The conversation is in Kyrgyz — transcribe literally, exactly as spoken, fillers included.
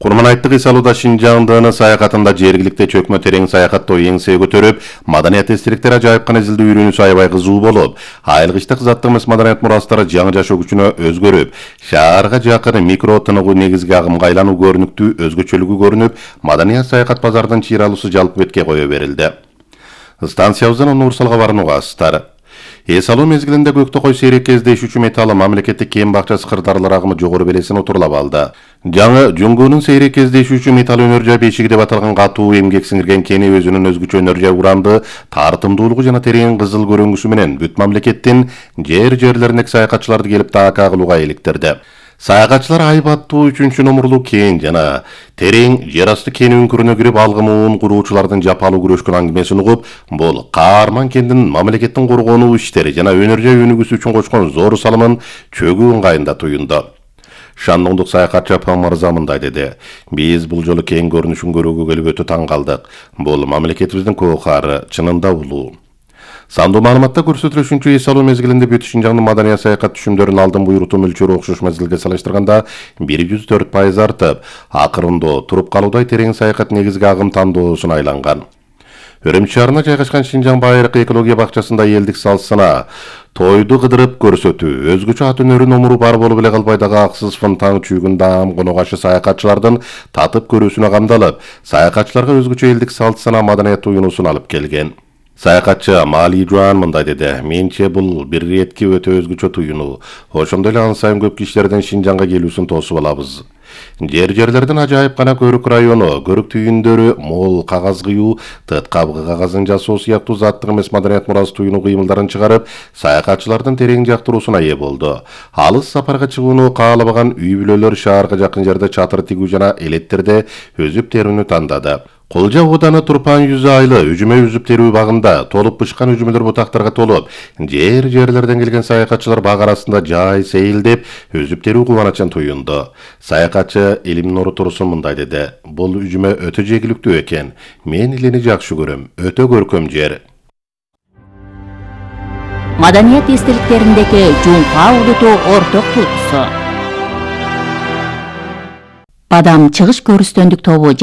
Курманайттык Исалууда Шинжаңдын саякатында жергиликте чөкмө терең саякаттоо эңсе көтөрүп, маданият эстеликтер ажайып гана изилдөө үйрөнүүсү аябай кызуу болуп, айылгычтык заттык эмес маданият мурастары жаңы жашоо күчүнө өзгөрүп, шаарга жакын микро тыныгуу негизги агымга айлануу көрүнүктүү өзгөчөлүгү көрүнүп, маданият саякат базарынын чыйралуусу жалпы бетке кое берилди. Станциябыздан Нурсал кабарынуу астар. Эсалуу мезгилинде көктө кой сейрек кездешүүчү металлы мамлекеттик кем бакчасы кырдаарлар агымы жогору белесин отурлап алды. Жаңы Жуңгуунун сейрек кездешүүчү металл өнөр жай бешиги деп аталган катуу эмгек сиңирген кени өзүнүн өзгөчө өнөр жай уранды, тартымдуулугу жана терең кызыл көрүнгүсү менен бүт мамлекеттин жер жерлериндеги саякатчыларды келип таакка кылууга иликтирди. Саякатчылар айбаттуу үчүнчү номурлуу кен жана терең жер асты кен үңкүрүнө кирип алгымын куруучулардын жапалуу күрөшкөн аңгемесин угуп, бул каарман кендин мамлекеттин коргонуу иштери жана өнөр жай өнүгүүсү үчүн кочкон зор салымын чөгүү ыңгайында туюнду. Шандоңдук саякатчы Апам мырза мындай деди: "Биз бул жолу кен көрүнүшүн көрүүгө келип өтө таң калдык. Бул мамлекетибиздин коокары чынында улуу." Сандуу маалыматта көрсөтүлүшүнчө Эсалуу мезгилинде бүт Шинжаңдын маданият саякат түшүмдөрүнүн алдын буйрутуу мөлчөрү окшош мезгилге салыштырганда бир жүз төрт пайыз артып, акырындоо туруп калуудай терең саякат негизги агым тандоосуна айланган. Өрөмчү шаарына жайгашкан Шинжаң Байыркы экология бакчасында элдик салсына тойду кыдырып көрсөтүү, өзгөчө ат өнөрү номуру бар болуп эле калбай дагы аксыз фонтан чүйгүн даам конугашы саякатчылардын татып көрүүсүнө камдалып, саякатчыларга өзгөчө элдик салт-сана маданият туюнуусун алып келген. Саякатчы Мали Жуан мындай деди: "Менче бул бир иретки өтө өзгөчө туюнуу. Ошондой эле ан сайын көп кишилердин Шинжаңга келүүсүн тосуп алабыз. Жер жерлердин ажайып гана көрүк району, көрүк түйүндөрү, мол кагаз кыюу, тыт кабгы кагазын жасоо сыяктуу заттык эмес маданият мурасы туюнуу кыймылдарын чыгарып, саякатчылардын терең жактыруусуна ээ болду. Алыс сапарга чыгууну каалабаган үй бүлөлөр шаарга жакын жерде чатыр тигүү жана элеттерде өзүп терүүнү тандады. Кулжа ооданы Турпан жүзү айлы үжүмө үзүп терүү багында толуп бышкан үжүмөлөр бутактарга толуп, жер жерлерден келген саякатчылар баг арасында жай сейилдеп, өзүп терүү кубанычын туюнду. Саякатчы Элимнор Турсун мындай деди: "Бул үжүмө өтө жегиликтүү экен. Мен илени жакшы көрөм. Өтө көркөм жер." Маданият эстеликтериндеги жуңка улуту орток туйгусу. Бадам чыгыш көрүстөндүк тобу